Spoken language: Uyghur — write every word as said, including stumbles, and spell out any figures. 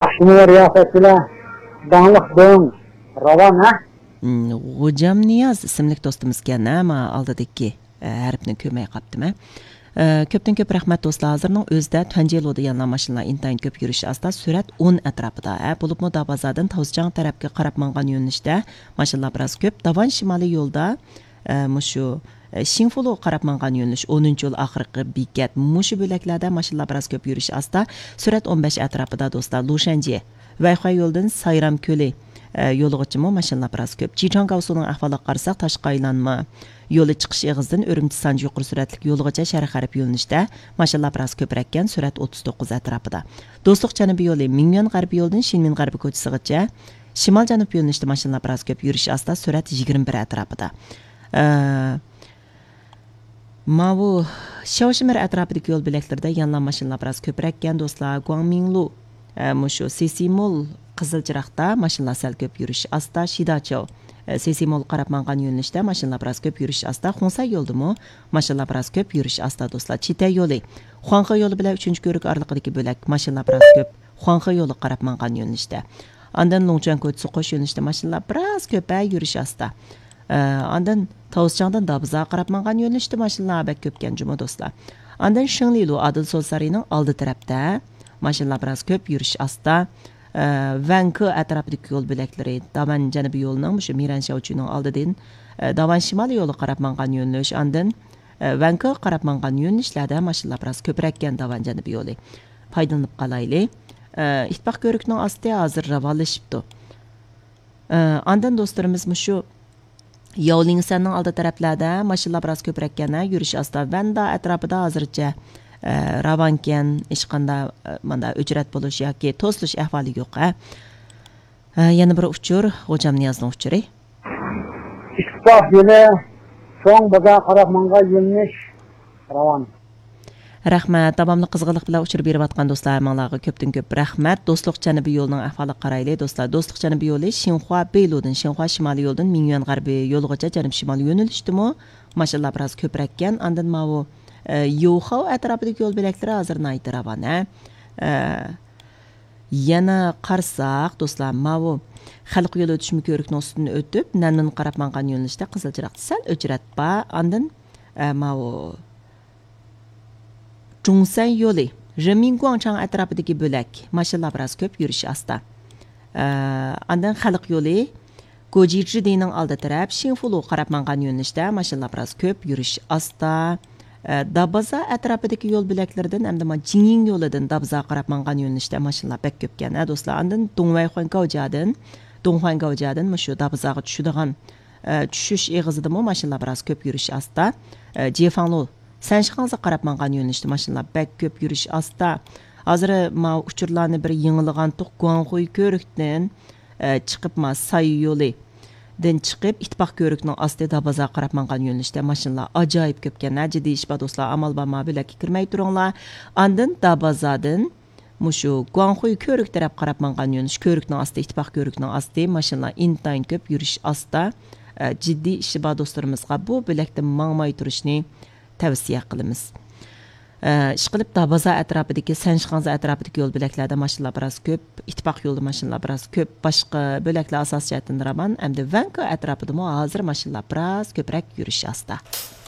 ئاخشىمى رىياسەتچىلەر، داڭلىق دۆڭ، راۋان، ھە؟ مم، غوجام نىياز ئىسىملىك دوستىمىزكەن، ھە، ما ئالدىدىكى، ئە، ھەرپنى كۆرمەي قاپتىمەن. ئە، كۆپتىن كۆپ رەھمەت دوستلار. ھازىرنىڭ ئۆزىدە تۇەنجيېلۇدا يەنىلا ماشىنىلار ئىنتايىن كۆپ يۈرۈش ئاستا، سۈرئەت ئون ئەتراپىدا، ھە، بولۇپمۇ دابازادىن تاۋزچاڭ تەرەپكە قاراپ ماڭغان يۆنىلىشتە ماشىنىلار بىراز كۆپ. داۋان شىمالىي يولدا، ئە، مۇشۇ، ئە، شىڭفۇلۇغا قاراپ ماڭغان يۆنىلىش، ئونىنچى يول ئاخىرقى بېكەت، مۇشۇ بۆلەكلەردە ماشىنىلار بىراز كۆپ يۈرۈش ئاستا، سۈرئەت ئون بەش ئەتراپىدا دوستلار. لۇشەنجيې، ۋەيخۇەي يولىدىن سايرام كۆلى، ئە، يولىغىچىمۇ ماشىنىلار بىراز كۆپ. جىچاڭگاۋسۇنىڭ ئەھۋالىغا قارىساق، تاشقى ئايلانما يولى چىقىش ئېغىزىدىن ئۈرۈمچى سانجى يۇقىرى سۈرئەتلىك يولىغىچە شەرق غەرب يۆنىلىشتە ماشىنىلار بىراز كۆپرەككەن، سۈرئەت ئوتتۇز توققۇز ئەتراپىدا. دوستلۇق جەنۇبىي يولى مىڭيۈەن غەربىي يولىدىن شىنمىن غەربىي كوچىسىغىچە شىمال جەنۇب يۆنىلىشتە ماشىنىلار بىراز كۆپ، يۈرۈش ئاستا، سۈرئەت يىگىرمە بىر ئەتراپىدا. ئە، ماۋۇ شياۋشىمىر ئەتراپىدىكى يول بۆلەكلىرىدە يەنىلا ماشىنىلار بىراز كۆپرەككەن دوستلار. گۇاڭمىڭلۇ، ئە، مۇشۇ سېسىمول قىزىل چىراغدا ماشىنىلار سەل كۆپ، يۈرۈش ئاستا. شىداچياۋ، ئە، سېسىمول قاراپ ماڭغان يۆنىلىشتە ماشىنىلار بىراز كۆپ، يۈرۈش ئاستا. خۇڭسەي يولىدىمۇ ماشىنىلار بىراز كۆپ، يۈرۈش ئاستا دوستلار. چىتەي يولى، خۇاڭخې يولى بىلەن ئۈچىنچى كۆۋرۈك ئارىلىقىدىكى بۆلەك ماشىنىلار بىراز كۆپ، خۇاڭخې يولىغا قاراپ ماڭغان يۆنىلىشتە. ئاندىن لۇڭچۈەن كوچىسى قوش يۆنىلىشتە ماشىنىلار بىراز كۆپ، ھە، يۈرۈش ئاستا. ئە، ئاندىن تاۋزچاڭدىن دابزاغا قاراپ ماڭغان يۆنىلىشتە ماشىنىلار بەك كۆپكەن جۇمۇ دوستلار. ئاندىن شېڭلىلۇ ئادىل سول سارىيىنىڭ ئالدى تەرەپتە ماشىنىلار بىراز كۆپ، يۈرۈش ئاستا. ئە، ۋەنكې ئەتراپىدىكى يول بۆلەكلىرى، داۋەن جەنۇبىي يولىنىڭ مۇشۇ مىرەن شياۋچۈنىڭ ئالدىدىن، ئە، داۋەن شىمالىي يولىغا قاراپ ماڭغان يۆنىلىش، ئاندىن، ئە، ۋەنكېغا قاراپ ماڭغان يۆنىلىشلەردە ماشىنىلار بىراز كۆپرەككەن داۋەن جەنۇبىي يولى. پايدىلىنىپ قالايلى. ئە، ئىتتىپاق كۆۋرۈكىنىڭ ئاستى ھازىر راۋانلىشىپتۇ. ئە، ئاندىن دوستلىرىمىز مۇشۇ ياۋلىڭسەننىڭ ئالدى تەرەپلەردە ماشىنىلار بىراز كۆپرەككەن، ھە، يۈرۈش ئاستا. ۋەندا ئەتراپىدا ھازىرچە، ئە، راۋانكەن، ھېچقاندا، ئە، ماندا ئۆچرەت بولۇش ياكى توسۇلۇش ئەھۋالى يوق، ھە. ئە، يەنە بىر ئۇچۇر، غوجام نىيازنىڭ ئۇچۇرى. ئىتتىپاق يولى، چوڭ بازار قاراپ ماڭغان يۆنىلىش راۋان. رەھمەت، داۋاملىق قىزغىنلىق بىلەن ئۇچۇر بېرىۋاتقان دوستلار ھەممىڭلارغا كۆپتىن كۆپ رەھمەت. دوستلۇق جەنۇبىي يولىنىڭ ئەھۋالىغا قارايلى دوستلار. دوستلۇق جەنۇبىي يولى شىنخۇا بېيلۇدىن، شىنخۇا شىمالىي يولىدىن مىڭيۈەن غەربىي يولىغىچە جەنۇب شىمال يۆنىلىشتىمۇ ماشىنىلار بىراز كۆپرەككەن. ئاندىن ماۋۇ، ئە، يوخاۋ ئەتراپىدىكى يول بۆلەكلىرى ھازىر ناھايىتى راۋان، ھە. ئە، يەنە قارىساق دوستلار، ماۋۇ خەلق يولى ئۆتۈشمە كۆۋرۈكنىڭ ئۈستىدىن ئۆتۈپ، نەنمىنغا قاراپ ماڭغان يۆنىلىشتە قىزىل چىراغدا سەل ئۆچرەت بار. ئاندىن، ئە، ماۋۇ جۇڭسەن يولى، رېمىن گۇاڭچاڭ ئەتراپىدىكى بۆلەك ماشىنىلار بىراز كۆپ، يۈرۈش ئاستا. ئە، ئاندىن خەلق يولى، گوجىجىدىنىڭ ئالدى تەرەپ شىڭفۇلۇغا قاراپ ماڭغان يۆنىلىشتە ماشىنىلار بىراز كۆپ، يۈرۈش ئاستا. ئە، دابازا ئەتراپىدىكى يول بۆلەكلىرىدىن ھەمدە ما جىڭيىڭ يولىدىن دابازاغا قاراپ ماڭغان يۆنىلىشتە ماشىنىلار بەك كۆپكەن، ھە، دوستلار. ئاندىن دۇڭۋەيخۇەن گاۋجيادىن، دۇڭخۇەن گاۋجيادىن مۇشۇ دابازاغا چۈشىدىغان، ئە، چۈشۈش ئېغىزىدىمۇ ماشىنىلار بىراز كۆپ، يۈرۈش ئاستا. ئە، جيېفاڭلۇ سەنشىخاڭزىغا قاراپ ماڭغان يۆنىلىشتە ماشىنىلار بەك كۆپ، يۈرۈش ئاستا. ھازىر ماۋۇ ئۇچۇرلارنى بىر يېڭىلىغانتۇق، گۇاڭخۇي كۆۋرۈكتىن، ئە، چىقىپ، ما سايى يولىدىن چىقىپ، ئىتتىپاق كۆۋرۈكنىڭ ئاستى دابازاغا قاراپ ماڭغان يۆنىلىشتە ماشىنىلار ئاجايىپ كۆپكەن، ھە، جىددىي ئىش بار دوستلار، ئامال بار ما بۆلەككە كىرمەي تۇرۇڭلار. ئاندىن دابازادىن مۇشۇ گۇاڭخۇي كۆۋرۈك تەرەپ قاراپ ماڭغان يۆنىلىش، كۆۋرۈكنىڭ ئاستى، ئىتتىپاق كۆۋرۈكنىڭ ئاستى، ماشىنىلار ئىنتايىن كۆپ، يۈرۈش ئاستا. ئە، جىددىي ئىشى بار دوستلىرىمىزغا بۇ بۆلەكتىن ماڭماي تۇرۇشنى تەۋسىيە قىلىمىز. ئە، ئىشقىلىپ، دابازا ئەتراپىدىكى، سەنشىخاڭزا ئەتراپىدىكى يول بۆلەكلەردە ماشىنىلار بىراز كۆپ، ئىتتىپاق يولىدا ماشىنىلار بىراز كۆپ، باشقا بۆلەكلەر ئاساسىي جەھەتتىن راۋان، ئەمدى ۋەنكو ئەتراپىدىمۇ ھازىر ماشىنىلار بىراز كۆپرەك، يۈرۈش ئاستا.